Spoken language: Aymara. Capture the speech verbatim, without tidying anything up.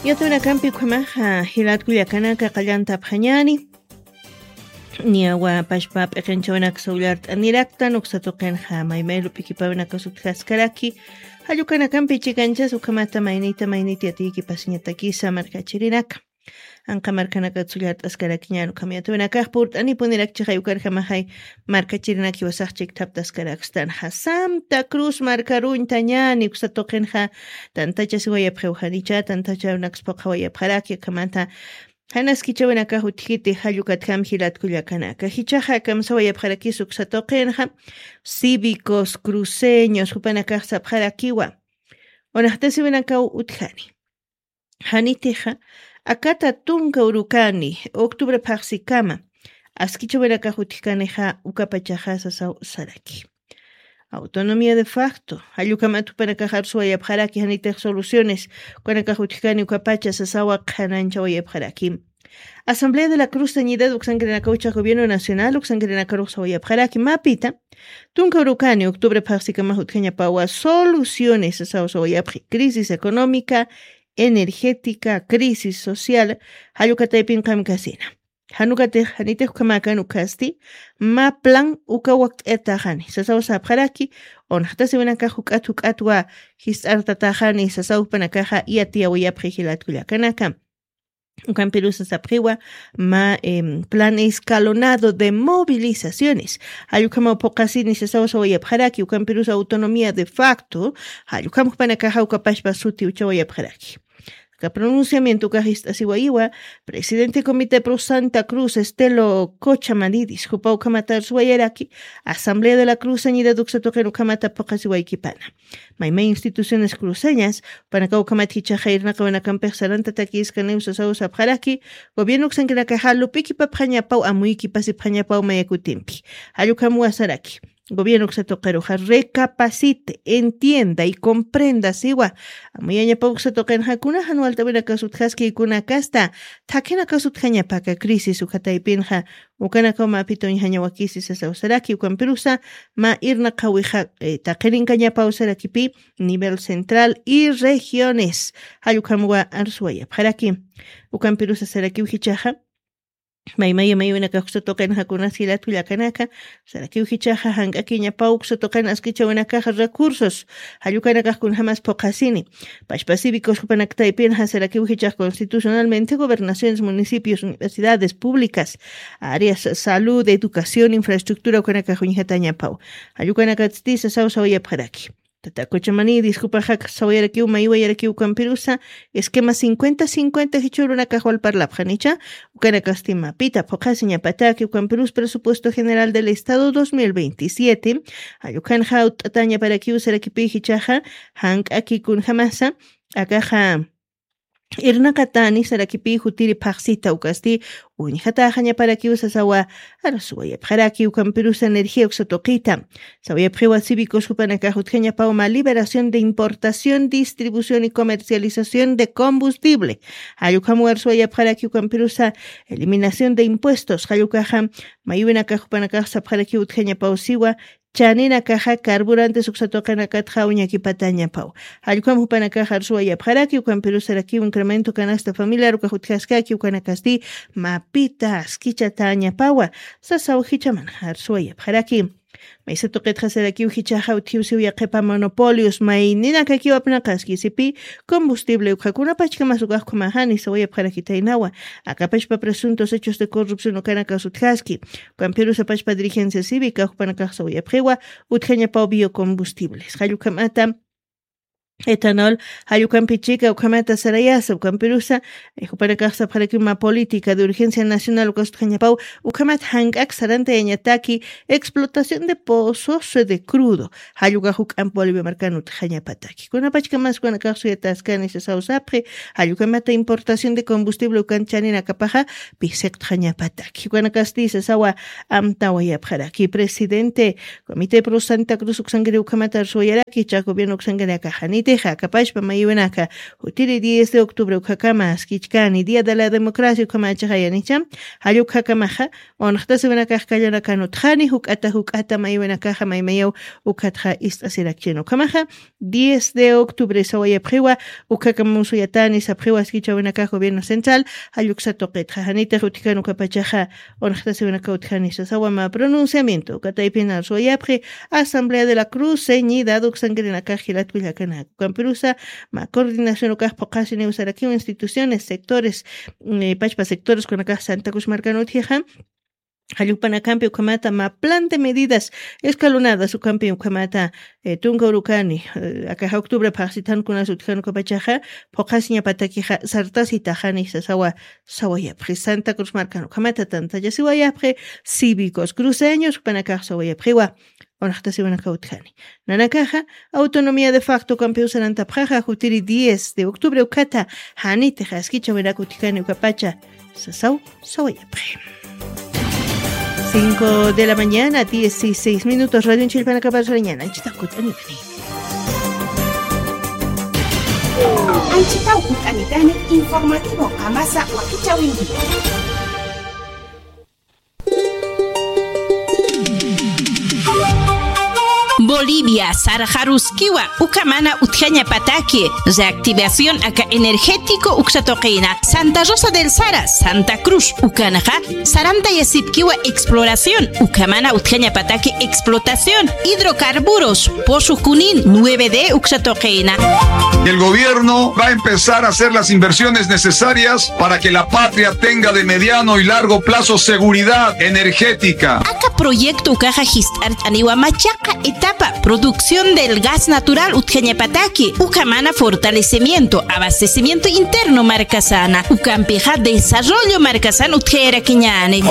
Yatawinakampi ukhamaxa jilatkullakanaka qallantapxañani. Niyawa pashpa p'iqinchawinak sawllart'aniraktan uksatuqinxa maymay lup'ikipawinaka sutjaskaraki. Jallukanakampi chikanchas ukhamata maynita maynita yatiyki pasiñatakisa markachirinaka. Anqa markanaka tsullart'askarakiñan ukham yatawinakax purt'anipunirak chixay ukarjamaxay markachirinakiwasax chikthaptaskarakstan ja santa cruz markaruñtañani uksatuqinxa. Tantachasiwayapxiwxanicha tantachawinaksphuqhawayapxaraki ukhamata janaskichawinakax utjkiti jallukatjam jilatkullakanaka jichaxa kamsawayapxarakis uksatuqinxa. Cívicos cruceños jupanakax sapxarakiwa. Unaxtasiwinakaw utjani. Janitixa akata tunka urukani octubre phaxsikama askichawinakax utjkanixa ukapachaxa sasaw saraki. Autonomía de facto jallukamat jupanakax arsuwayapxaraki janitix soluciones ukanakax utjkani ukapacha sasawa qhananchawayapxaraki. Asamblea de la cruz sañidad uksankirinakawchax gobierno nacional uksankirinakaruxsawayapxaraki mapita. Tunka urukani octubre phaxsikamax utjañapawa soluciones sasawsawayapxi crisis económica energética crisis social. Jallukataypin qamkasina janukatix janitix ukhamäkan ukhasti. Mä plan uka wakt'ataxani sasawsapxaraki. Unaxtasiwinakax juk'at juk'atwa jist'artataxani sasawpanakaxa yatiyawayapxi jilatkullakanaka. Ukampirusa sapxiwa mä plan escalonado de movilizaciones. Jallukamaw phuqasini sasawsawayapxaraki ukampirusa autonomía de facto. Jallukam jupanakaxa ukapashpa sutiwchawayapxaraki. Aka pronunciamiento ukax ist'asiwayiwa presidente comité pro santa cruz estelo cocha manidis jupa ukhamata arsuwayaraki. Asamblea de la cruz sañidad uksatuqin ukhamata phuqasiwaykipana. Maymay instituciones cruceñas panakaw ukhamat jichaxa irnaqawanakampix sarantatakïskaniw sasawsapxaraki. Gobierno uksankinakaxa lup'ikipapxañapaw amuykipasipxañapaw mayakutimpi. Jallukhamwa saraki gobierno uksatuqiruxa recapacite entienda y comprenda siwa. Amuyañapaw uksatuqinxa kunaxan walt'awinakas utjaskï kunakasta thakhinakasutjañapaka crisis ukhataypinxa ukanakaw mä apituñjañawakisi sasawsaraki ukampirusa mä irnaqawixa taqirinkañapaw sarakipi nivel central y regiones. Jallukhamwa arsuwayapxaraki. Ukampirusa sarakiw jichaxa maymaya maywinakax uksatuqinxa kunas jilatkullakanaka sarakiw jichaxa jank'akiñapaw uksatuqin askichawinakaxa recursos jallukanakax kunjamas phuqhasini. Pashpa cívicos jupanaktaypinxa sarakiw jichax constitucionalmente gobernaciones municipios universidades públicas áreas salud educación infraestructura ukanakax uñjatañapaw. Jallukanakatsti sasawsawayapxaraki. Tatakuchamanï diskupaxak sawayarakiw maywayarakiw ukampirusa esquema cincuenta cincuenta jichhurunakaxwal parlapxanicha. Ukanakasti mapita phuqhasiñapataki ukampirus presupuesto general del estado dos mil veintisiete. Jallukhanxa utt'atañaparakiw sarakipi jichaxa jank'aki kunjamasa akaxa irnaqatani sarakipi jutiri phaxsita ukasti uñjataxañaparakiw sasawa. Arsuwayapxaraki ukampirusa energía uksatuqita sawayapxiwa cívicos jupanakax utjañapaw mä liberación de importación distribución y comercialización de combustible. Jallukhamwa arsuwayapxaraki ukampirusa eliminación de impuestos jallukaxa maywinakax jupanakax sapxarakiw utjañapaw siwa. Chaninakaxa carburantes uksatuqinakatxa uñakipatañapaw. Jallukam jupanakax arsuwayapxaraki ukampirusarakiw incremento canasta familiar ukax utjaskaki ukanakasti mapita askichatañapawa. Sasaw jichaman arsuwayapxaraki. Maysa tuqitxa sarakiw jichaxa utjiw siw yaqhipa monopolios mayninakakiw apnaqaski sipi combustible ukhakunapachkamas ukax khumaxani sawayapxarakitaynawa. Akapachpa presuntos hechos de corrupción ukanakas utjaski ukampirusa pachpa dirigencia cívica jupanakax sawayapxiwa. Utjañapaw biocombustibles jallukhamata etanol jallukampichika ukhamata sarayasa ukampirusa jupanakax sapxarakiw mä política de urgencia nacional ukas utjañapaw. Ukhamat jank'ak sarantayañataki explotación de pozos de crudo jallukax juk'amp bolivia markan utjañapataki kunapachkamas ukanakax suyataskani sasaw sapxi. Jallukamata importación de combustible ukan chaninakapaxa pisiqtxañapataki ukanakasti sasawa. Amtawayapxaraki presidente comité pro santa cruz uksankiri ukhamata arsuwayaraki jichax gobierno uksankinakaxaniti Ixa, kapachpa mayiwinaka, jutiri diez de octubre ukakama askichkani, Día de la Democracia ukamachaxa yanicha, jallukakamaxa, unxtasiwinakax kallanakan utjani, juk'ata, juk'ata mayiwinakaxa maymayaw ukatxa ist'asirakchini. Ukamaxa, diez de octubre sawayapxiwa, ukakama musuyatani sapxiwa askichawinakax gobierno central, jalluksa tuqitxa, janitix utjkan ukapachaxa, unxtasiwinaka utjani sasawa mä pronunciamiento, ukataypina suwayapxi, Asamblea de la Cruz, Ceñida, uksankirinakax jilatkullakanaka. Ukampirusa, mä coordinación ukax phuqasiniw sarakiw instituciones, sectores, eh, pachpa sectores kunakax Santa Cruz markan utjixa. Jallukpanakampi ukhamata mä plan de medidas escalonadas ukampi ukhamata, eh, tunka urukani, eh, akaxa octubre phaxsitan kunas utjkan ukapachaxa, phuqasiñapatakixa sartasitaxani sasawa, sawayapxi. Santa Cruz markan ukhamata tantachasiwayapxi, cívicos cruceños, jupanakax sawayapxiwa. Unxtasiwinaka utjani. Nanakaxa, autonomía de facto ukampiw sarantapxaxa, jutiri diez de octubre ukata, janitix askichawinaka utjkani ukapacha, sasaw, sawayapxi. Cinco de la mañana, dieciséis minutos, radio chillpanakapar sarañana, anchitaw kut'anitani. Anchitaw kut'anitani, informativo qamasa wakichawinki. Bolivia, sarxaruskiwa, ukamana utjañapataki, reactivación aka energético uksatuqina, Santa Rosa del Sara, Santa Cruz, ukanaxa, sarantayasipkiwa exploración, ukamana utjañapataki explotación, hidrocarburos, pozo Junín, nueve D uksatuqina. El gobierno va a empezar a hacer las inversiones necesarias para que la patria tenga de mediano y largo plazo seguridad energética. Aka proyecto ukaxa jist'art'aniwa machaqa etapa, producción del gas natural utjañapataki, ukamana fortalecimiento, abastecimiento interno markasana, ukampixa desarrollo markasan utjayarakiñani.